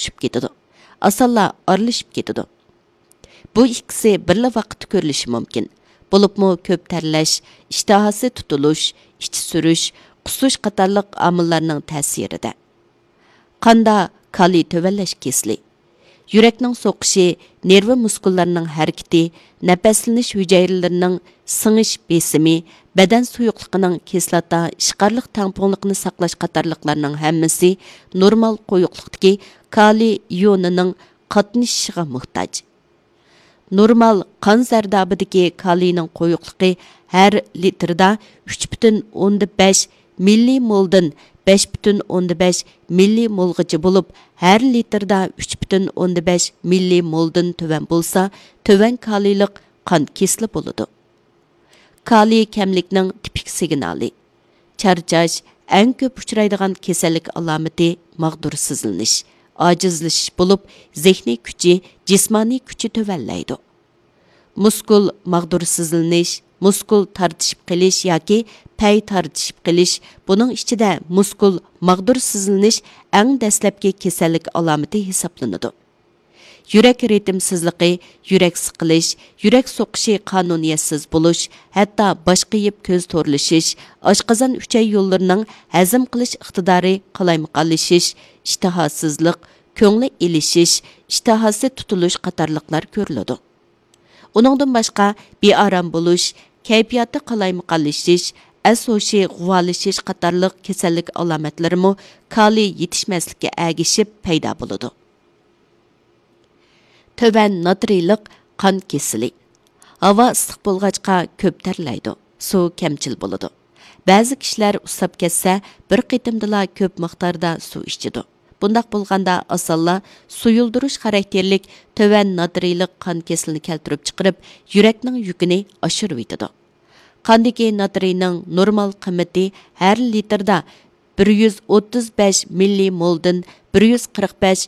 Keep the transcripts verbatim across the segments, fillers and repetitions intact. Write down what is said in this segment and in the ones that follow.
ئۇچۇپ كېتىدۇ، ئاسانلا ئارىلىشىپ كېتىدۇ. بۇ ئىككىسى بىرلا ۋاقىتتا كۆرۈلۈشى مۇمكىن. بولۇپمۇ كۆپ تەرلەش، ئىشتىھاسى تۇتۇلۇش، ئىچى سۈرۈش، قۇسۇش قاتارلىق ئامىللارنىڭ تەسىرىدە. قاندا كالىي تۆۋەنلەش كېسىلى. يۈرەكنىڭ سوقۇشى، نېرۋا مۇسكۇللىرىنىڭ ھەرىكىتى، نەپەسلىنىش ھۈجەيرىلىرىنىڭ سىڭىش بېسىمى، بەدەن سۇيۇقلۇقىنىڭ كىسلاتا ئىشقارلىق تەڭپۇڭلۇقىنى ساقلاش قاتارلىقلارنىڭ ھەممىسى نورمال قويۇقلۇقتىكى كالىي ئىيونىنىڭ قاتنىشىشىغا موھتاج. نورمال قان زەردابىدىكى كالىينىڭ قويۇقلۇقى ھەر لىتىردا ئۈچ پۈتۈن ئوندىن بەش مىللىمولدىن بەش پۈتۈن ئوندىن بەش مىللىمولغىچە بولۇپ، ھەر لىتىردا ئۈچ پۈتۈن ئوندىن بەش مىللىمولدىن تۆۋەن بولسا، تۆۋەن كالىيلىق قان كېسىلى بولىدۇ. كالىي كەملىكنىڭ تىپىك سىگنالى. چارچاش، ئەڭ كۆپ ئۇچرايدىغان كېسەللىك ئالامىتى ماغدۇرسىزلىنىش، ئاجىزلىشىش بولۇپ، زېھنىي كۈچى، جىسمانىي كۈچى تۆۋەنلەيدۇ. مۇسكۇل ماغدۇرسىزلىنىش، مۇسكۇل تارتىشىپ قېلىش ياكى پەي تارتىشىپ قېلىش، بۇنىڭ ئىچىدە مۇسكۇل ماغدۇرسىزلىنىش ئەڭ دەسلەپكى كېسەللىك ئالامىتى ھېسابلىنىدۇ. يۈرەك رىتىمسىزلىقى، يۈرەك سىقىلىش، يۈرەك سوقۇشى قانۇنىيەتسىز بولۇش، ھەتتا باش قېيىپ كۆز تورلىشىش، ئاشقازان ئۈچەي يوللىرىنىڭ ھەزىم قىلىش ئىقتىدارى قالايمىقانلىشىش، ئىشتىھاسىزلىق، كۆڭلى ئېلىشىش، ئىشتىھاسى تۇتۇلۇش قاتارلىقلار كۆرۈلىدۇ. ئۇنىڭدىن باشقا، بىئارام بولۇش، كەيپىياتى قالايمىقانلىشىش، ئەس ھوشى غۇۋالىشىش قاتارلىق كېسەللىك ئالامەتلىرىمۇ كالىي يېتىشمەسلىككە ئەگىشىپ پەيدا بولىدۇ. تۆۋەن ناترىيلىق قان كېسىلى. ھاۋا ئىسسىق بولغاچقا كۆپ تەرلەيدۇ، سۇ كەمچىل بولىدۇ. بەزى كىشىلەر ئۇسساپ كەتسە، بىر قېتىمدىلا كۆپ مىقداردا سۇ ئىچىدۇ. بۇنداق بولغاندا ئاسانلا سۇيۇلدۇرۇش خاراكتېرلىك تۆۋەن ناترىيلىق قان كېسىلىنى كەلتۈرۈپ چىقىرىپ، يۈرەكنىڭ يۈكىنى ئاشۇرۇۋېتىدۇ. قاندىكى ناترىينىڭ نورمال قىممىتى ھەر لىتىردا بىر يۈز ئوتتۇز بەش مىللىمولدىن بىر يۈز قىرىق بەش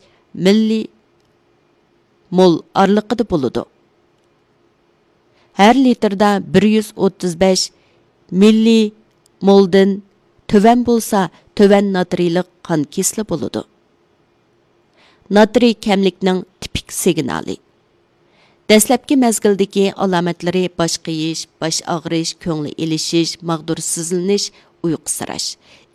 مىللىمول ئارىلىقىدا بولىدۇ. ھەر لىتىردا بىر يۈز ئوتتۇز بەش مىللىمولدىن تۆۋەن بولسا، تۆۋەن ناترىيلىق قان كېسىلى بولىدۇ. ناترىي كەملىكنىڭ تىپىك سىگنالى. دەسلەپكى مەزگىلدىكى ئالامەتلىرى باش قېيىش، باش ئاغرىش، كۆڭلى ئېلىشىش، ماغدۇرسىزلىنىش، ئۇيقۇسىراش.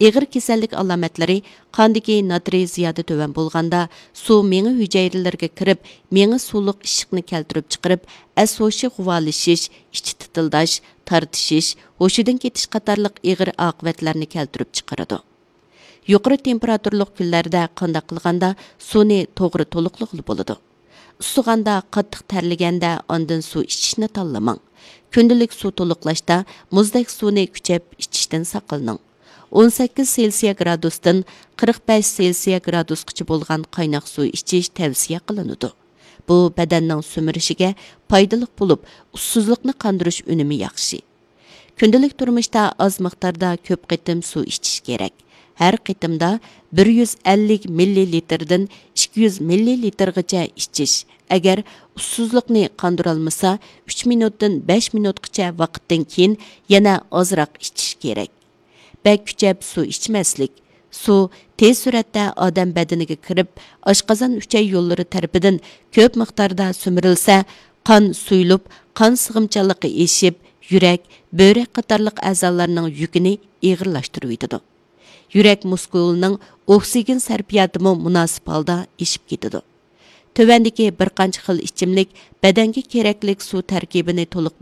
ئېغىر كېسەللىك ئالامەتلىرى قاندىكى ناترىي زىيادە تۆۋەن بولغاندا، سۇ مېڭە ھۈجەيرىلىرىگە كىرىپ، مېڭە سۇلۇق ئىششىقنى كەلتۈرۈپ چىقىرىپ، ئەس ھوشى غۇۋالىشىش، ئىچى تىتىلداش، تارتىشىش، ھوشىدىن كېتىش قاتارلىق ئېغىر ئاقىۋەتلەرنى كەلتۈرۈپ چىقىرىدۇ. يۇقىرى تېمپېراتۇرىلىق كۈنلەردە قانداق قىلغاندا سۇنى توغرا تولۇقلىغىلى بولىدۇ؟ ئۇسسىغاندا، قاتتىق تەرلىگەندە ئاندىن سۇ ئىچىشنى تاللىماڭ. كۈندىلىك سۇ تولۇقلاشتا مۇزدەك سۇنى كۈچەپ ئىچىشتىن ساقلىنىڭ. ئون سەككىز سېلسىيە گرادۇستىن قىرىق بەش سېلسىيە گرادۇسقىچە بولغان قايناق سۇ ئىچىش تەۋسىيە قىلىنىدۇ. بۇ بەدەننىڭ سۈمۈرۈشىگە پايدىلىق بولۇپ، ئۇسسۇزلۇقنى قاندۇرۇش ئۈنۈمى ياخشى. كۈندىلىك تۇرمۇشتا ئاز مىقداردا كۆپ قېتىم سۇ ئىچىش كېرەك. ھەر قېتىمدا بىر يۈز ئەللىك مىللىلىتىردىن ئىككى يۈز مىللىلىتىرغىچە ئىچىش. ئەگەر ئۇسسۇزلۇقنى قاندۇرالمىسا، ئۈچ مىنۇتتىن بەش مىنۇتقىچە ۋاقىتتىن كېيىن يەنە ئازراق ئىچىش كېرەك. بەك كۈچەپ سۇ ئىچمەسلىك. سۇ تېز سۈرئەتتە ئادەم بەدىنىگە كىرىپ، ئاشقازان ئۈچەي يوللىرى تەرىپىدىن كۆپ مىقداردا سۈمۈرۈلسە، قان سۇيۇلۇپ، قان سىغىمچانلىقى ئېشىپ، يۈرەك، بۆرەك قاتارلىق ئەزالارنىڭ يۈكىنى ئېغىرلاشتۇرۇۋېتىدۇ. يۈرەك مۇسكۇلىنىڭ ئوكسىگېن سەرپىياتىمۇ مۇناسىپ ھالدا ئېشىپ كېتىدۇ. تۆۋەندىكى بىر قانچە خىل ئىچىملىك بەدەنگە كېرەكلىك سۇ تەركىبىنى تولۇق،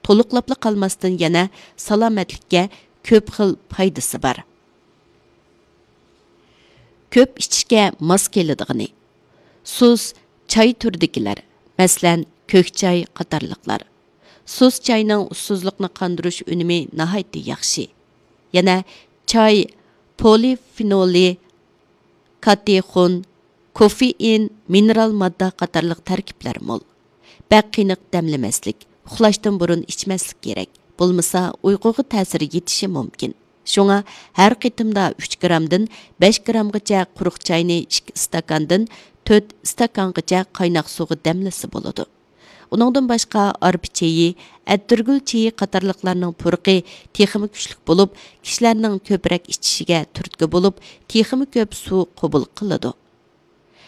تولۇقلاپلا قالماستىن، يەنە سالامەتلىككە كۆپ خىل پايدىسى بار. كۆپ ئىچىشكە ماس كېلىدىغىنى. سۇس چاي تۈرىدىكىلەر، مەسىلەن، كۆك چاي قاتارلىقلار. سۇس چاينىڭ ئۇسسۇزلۇقنى قاندۇرۇش ئۈنۈمى ناھايىتى ياخشى. يەنە چاي پولىفېنولى، كاتېخون، كوفېئىن، مىنېرال ماددا قاتارلىق تەركىبلەر مول. بەك قېنىق دەملىمەسلىك، ئۇخلاشتىن بۇرۇن ئىچمەسلىك كېرەك، بولمىسا ئۇيقۇغا تەسىر يېتىشى مۇمكىن. شۇڭا ھەر قېتىمدا ئۈچ گرامدىن بەش گرامغىچە قۇرۇق چاينى ئىككى ئىستاكاندىن تۆت ئىستاكانغىچە قايناق سۇغا دەملىسە بولىدۇ. ئۇنىڭدىن باشقا ئارپا چېيى، ئەتىرگۈل چېيى قاتارلىقلارنىڭ پۇرىقى تېخىمۇ كۈچلۈك بولۇپ، كىشىلەرنىڭ كۆپرەك ئىچىشىگە تۈرتكە بولۇپ، تېخىمۇ كۆپ سۇ قوبۇل قىلىدۇ.